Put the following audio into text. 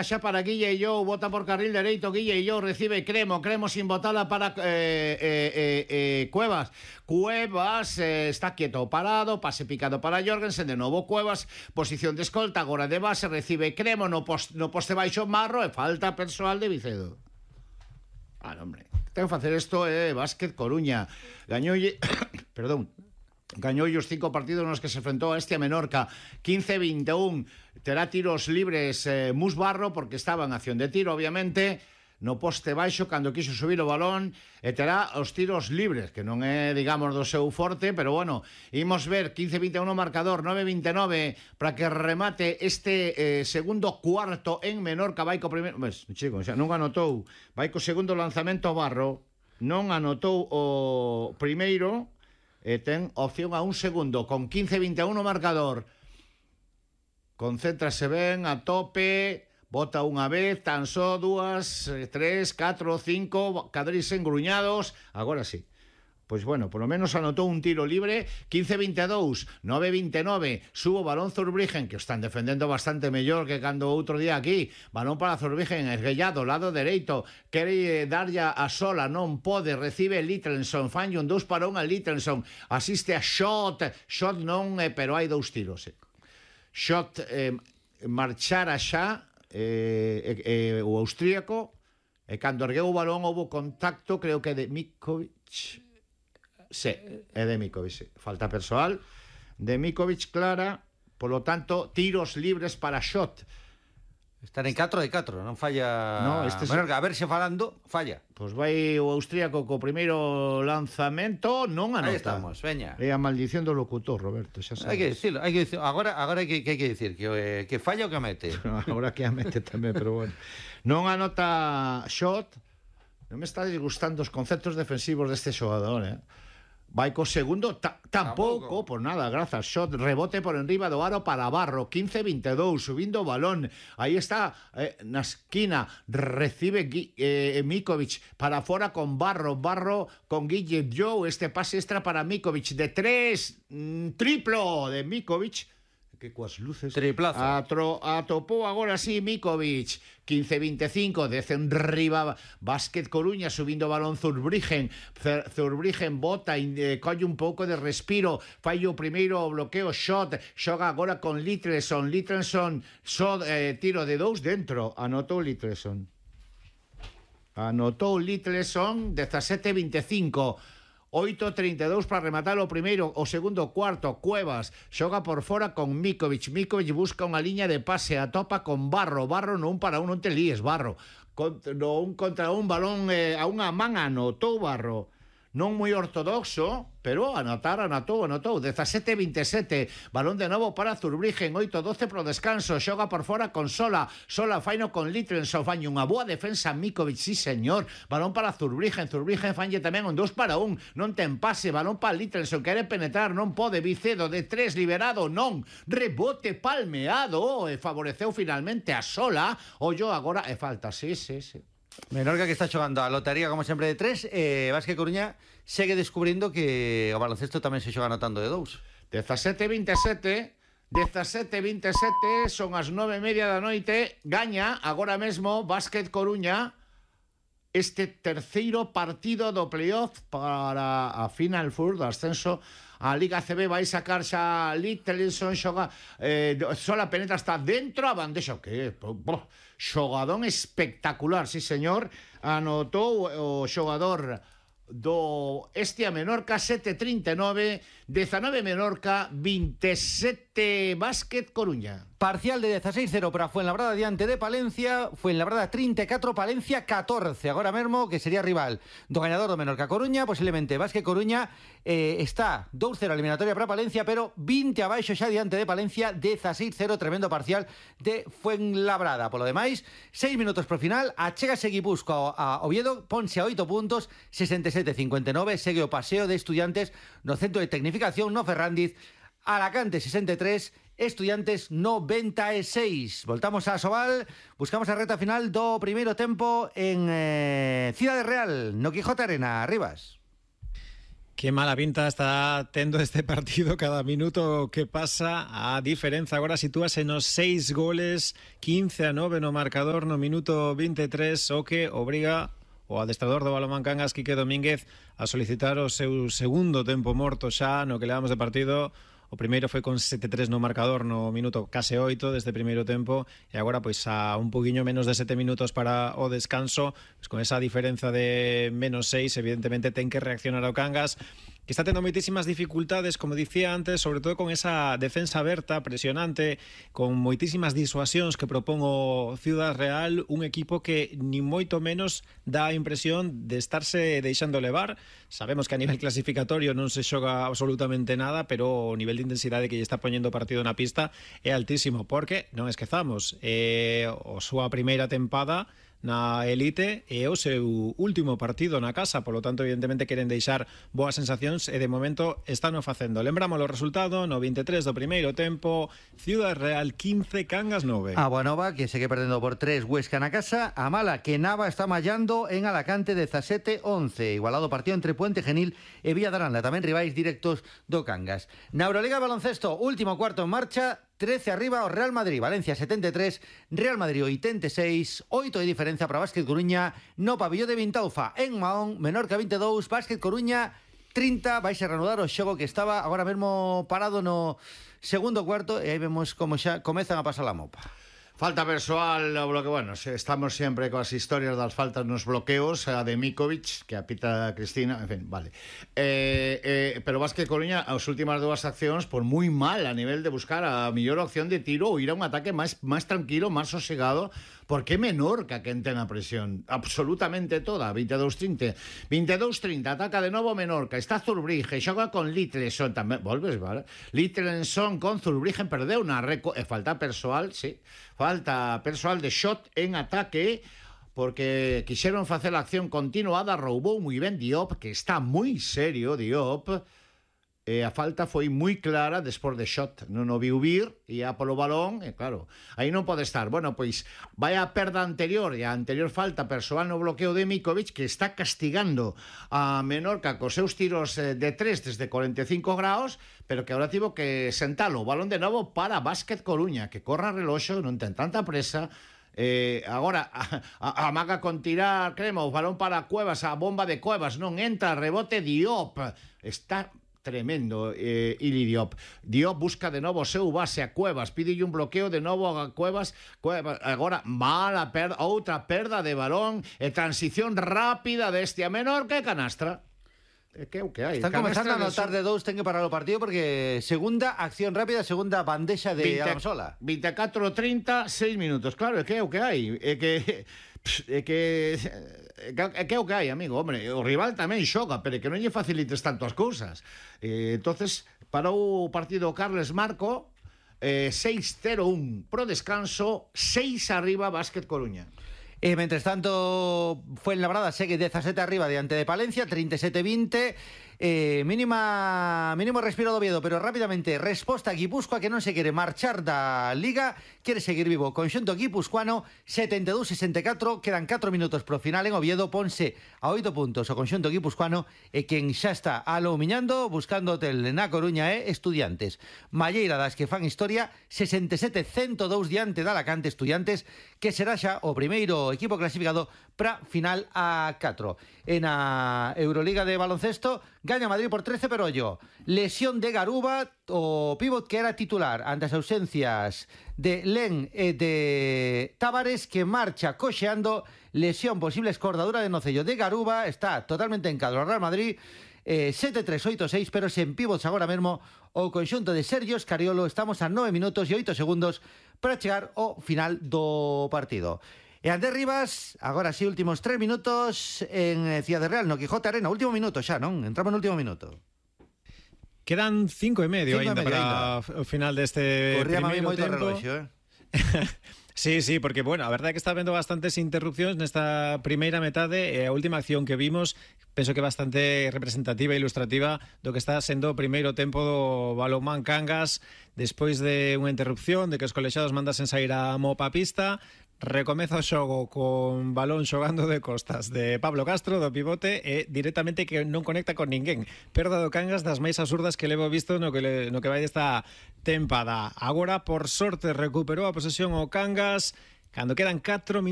Xa para Guille Illou, bota por carril dereito, Guille Illou recibe Cremo sin botada para Cuevas. Cuevas está quieto parado, pase picado para Jorgensen, de novo Cuevas, posición de escolta, agora de base, recibe Cremo no poste baixo Marro e falta persoal de Vicedo. Hombre, tengo que facer isto Básquet Coruña. Gañoulle, perdón, gañou os 5 partidos nos que se enfrentou a Estia Menorca 15-21, terá tiros libres Mus Barro porque estaba en acción de tiro obviamente no poste baixo cando quiso subir o balón e terá os tiros libres que non é digamos do seu forte pero bueno, imos ver 15-21 marcador 9-29 para que remate este segundo cuarto en Menorca. Vai co primeiro, chico, xa non anotou, vai co segundo lanzamento Barro, non anotou o primeiro e ten opción a un segundo con 15-21 marcador. Concéntrase ben, a tope, bota unha vez, tan só 2, 3, 4, 5 cadris engruñados, agora sí. Pois bueno, por lo menos anotou un tiro libre. 15-22, 9-29, subo balón Zurbriggen, que o están defendendo bastante mellor que cando outro día aquí. Balón para Zurbriggen, esguellado, lado dereito, quere darlle a sola, non pode, recibe Littleson, fanlle un 2 para 1 a Littleson, asiste a Shot non, pero hai 2 tiros. Shot marchara xa o austríaco, e cando ergueu o balón houve contacto, creo que de Mikovic. Sí, é de Mikovic. Falta persoal de Mikovic clara, polo tanto, tiros libres para Shot. Están en 4 de 4, non falla. No, Menorca, a ver se falando, falla. Pois vai o austríaco co primeiro lanzamento, non anota. Aí estamos, veña. É a maldición do locutor, Roberto, xa sabes. Hai que dicirlo. Agora hai que dicir que falla o que mete. Agora que a mete tamén, pero bueno. Non anota Shot. Non me está disgustando os conceptos defensivos deste xogador, Vai co segundo, tampouco, por nada, grazas. Shot, rebote por enriba do aro para Barro, 15-22, subindo o balón. Aí está, na esquina, recibe Mikovic para fora con Barro con Guille Joe, este pase extra para Mikovic de 3, triplo de Mikovic, que coas luces triplazo. Atopou agora sí Mikovic. 15-25, decen riba Básquet Coruña, subindo balón Zurbriggen bota, colle un pouco de respiro, fai o primeiro bloqueo Shot, xoga agora con Littleson, tiro de 2 dentro, anotou Littleson 17-25, 8-32 para rematar o primeiro, o segundo cuarto. Cuevas xoga por fora con Mikovic busca unha liña de pase, atopa con Barro non para un, non te líes Barro, un contra un balón a unha man, anotou Barro, non moi ortodoxo, pero anotou 17-27, balón de novo para Zurbriggen, 8-12 pro descanso, xoga por fora con Sola faino con Littleson, faño unha boa defensa Mikovic, sí señor, balón para Zurbriggen fanlle tamén un 2 para 1, non ten pase, balón para Littleson, quere penetrar, non pode, Vicedo de 3, liberado, non, rebote palmeado, e favoreceu finalmente a Sola, ollo agora, e falta, sí. Menorca que está xogando a lotería como sempre de 3, Básquet Coruña segue descubrindo que o baloncesto tamén se xoga anotando de 2. 17-27, son as 9:30 da noite, gaña agora mesmo Básquet Coruña este terceiro partido do playoff para a Final Four do ascenso a Liga CB. Vai sacar xa Littleson, xoga Sola penetra hasta dentro a bandexa, que xogadón espectacular, sí señor, anotou o xogador do Estia Menorca, 7-39, 19 Menorca, 27 Básquet Coruña. Parcial de 16-0 para Fuenlabrada diante de Palencia, Fuenlabrada 34, Palencia 14, agora mesmo que sería rival do gañador do Menorca Coruña, posiblemente Básquet Coruña está 2-0 eliminatoria para Palencia, pero 20 abaixo xa diante de Palencia, 16-0, tremendo parcial de Fuenlabrada. Polo demais, 6 minutos pro final, achégase Guipúzcoa a Oviedo, ponse a 8 puntos, 67-59, segue o paseo de Estudiantes no centro de tecnificación no Ferrandiz, Alacante 63, Estudiantes 96. Voltamos a Asobal, buscamos a reta final do primeiro tempo en Cidade Real, no Quijote Arena. Rivas. Que mala pinta está tendo este partido cada minuto que pasa. A diferenza agora sitúase nos 6 goles, 15-9 no marcador no minuto 23, o que obriga o adestrador do Balonmán Cangas, Quique Domínguez, a solicitar o seu segundo tempo morto xa no que levamos de partido. O primeiro foi con 7-3 no marcador no minuto case 8 deste primeiro tempo, e agora pois a un poquinho menos de 7 minutos para o descanso, pois con esa diferenza de menos 6, evidentemente ten que reaccionar o Cangas, que está tendo moitísimas dificultades, como dicía antes, sobre todo con esa defensa aberta, presionante, con moitísimas disuasións que propón o Ciudad Real, un equipo que ni moito menos dá a impresión de estarse deixando levar. Sabemos que a nivel clasificatorio non se xoga absolutamente nada, pero o nivel de intensidade que lle está poñendo o partido na pista é altísimo, porque, non esquezamos, a súa primeira tempada na elite e o seu último partido na casa, polo tanto evidentemente queren deixar boas sensacións e de momento están o facendo. Lembramos o resultado no 23 do primeiro tempo, Ciudad Real 15, Cangas 9. A Boanova, que segue perdendo por 3 Huesca na casa. A Mala, que Nava está mallando en Alacante 17-11. Igualado partido entre Puente Genil e Villadaranda, tamén rivais directos do Cangas. Na Euroliga de baloncesto, último cuarto en marcha, 13 arriba o Real Madrid, Valencia 73, Real Madrid 86, 8 de diferencia para Básquet Coruña no pabillón de Vintaufa. En Mahón, Menorca 22, Básquet Coruña 30, vais a reanudar o xogo que estaba agora mesmo parado no segundo cuarto e aí vemos como xa comezan a pasar a mopa. Falta persoal, o bloque, bueno, estamos sempre coas historias das faltas nos bloqueos, a de Mikovic, que apita Cristina, en fin, vale. Pero Básquet Coruña, as últimas dúas accións, por moi mal a nivel de buscar a mellor opción de tiro ou ir a un ataque máis tranquilo, máis sosegado, porque é Menorca quen ten a presión, absolutamente toda, 22-30. 22-30, ataca de novo Menorca, está Zurbriggen, xoga con Littleson tamén, volves, vale? Littleson con Zurbriggen, perdeu na falta persoal, sí, falta persoal de shot en ataque, porque quixeron facer a acción continuada, roubou moi ben Diop, que está moi serio Diop, e a falta foi moi clara despois de shot, non o viu vir, e a polo balón, e claro, aí non pode estar. Bueno, pois, vai a perda anterior, e a anterior falta persoal no bloqueo de Mikovic, que está castigando a Menorca cos seus tiros de 3 desde 45 graus, pero que agora tivo que sentalo o balón de novo para Básquet Coruña, que corra reloxo, non ten tanta presa. Agora amaga con tirar, crema, o balón para Cuevas, a bomba de Cuevas non entra, rebote Diop, está tremendo, Ili Diop. Diop busca de novo o seu base a Cuevas, pídelle un bloqueo de novo a Cuevas, agora mala perda, outra perda de balón e transición rápida deste a Menorca e canastra. Que é o que hai? Están comenzando a notar de dous, ten que parar o partido porque segunda acción rápida, segunda bandexa de Adamsola. 24-30, 6 minutos. Claro, é que é o que hai. É que é o que hai, amigo. Hombre, o rival tamén xoga, pero que non lle facilites tanto as cousas. Entonces, parou o partido Carles Marco, 6-0-1 pro descanso, 6 arriba Básquet Coruña. Mentres tanto, Fuenlabrada segue 17 arriba diante de Palencia, 37-20. Mínimo respiro do Oviedo, pero rápidamente resposta a Guipúzcoa, que non se quere marchar da Liga, quere seguir vivo. Conxunto guipuzcoano 72-64, quedan 4 minutos pro final en Oviedo, ponse a 8 puntos o conxunto guipuzcoano, e quen xa está aloumiñando buscando hotel na Coruña é Estudiantes. Malleira das que fan historia, 67-102 diante de Alacante. Estudiantes, que será xa o primeiro equipo clasificado para final a 4. En a Euroliga de baloncesto, gaña Madrid por 13 pero ollo. Lesión de Garuba, o pívot que era titular ante as ausencias de Len e de Tavares, que marcha coxeando. Lesión posible, escordadura de nocello de Garuba, está totalmente en cadro Real Madrid. 7-3-8-6, pero sen pivots agora mesmo o conxunto de Sergio Escariolo. Estamos a 9 minutos e 8 segundos para chegar ao final do partido. E Andrés Rivas, agora sí, últimos 3 minutos en Ciudad Real, no Quijote Arena. Último minuto xa, non? Entramos no último minuto. Quedan 5 e medio ainda para o final deste primeiro tempo. Reloxo, Sí, porque, bueno, a verdade é que está habendo bastantes interrupcións nesta primeira metade, e a última acción que vimos penso que é bastante representativa e ilustrativa do que está sendo o primeiro tempo do Balonmán Cangas, despois de unha interrupción, de que os colexados mandasen sair a mopa pista. recomeza o xogo con balón xogando de costas de Pablo Castro, do pivote, e directamente que non conecta con ninguén. Perda do Cangas das máis absurdas que levo visto no que vai desta tempada. Agora, por sorte, recuperou a posesión o Cangas cando quedan 4 minutos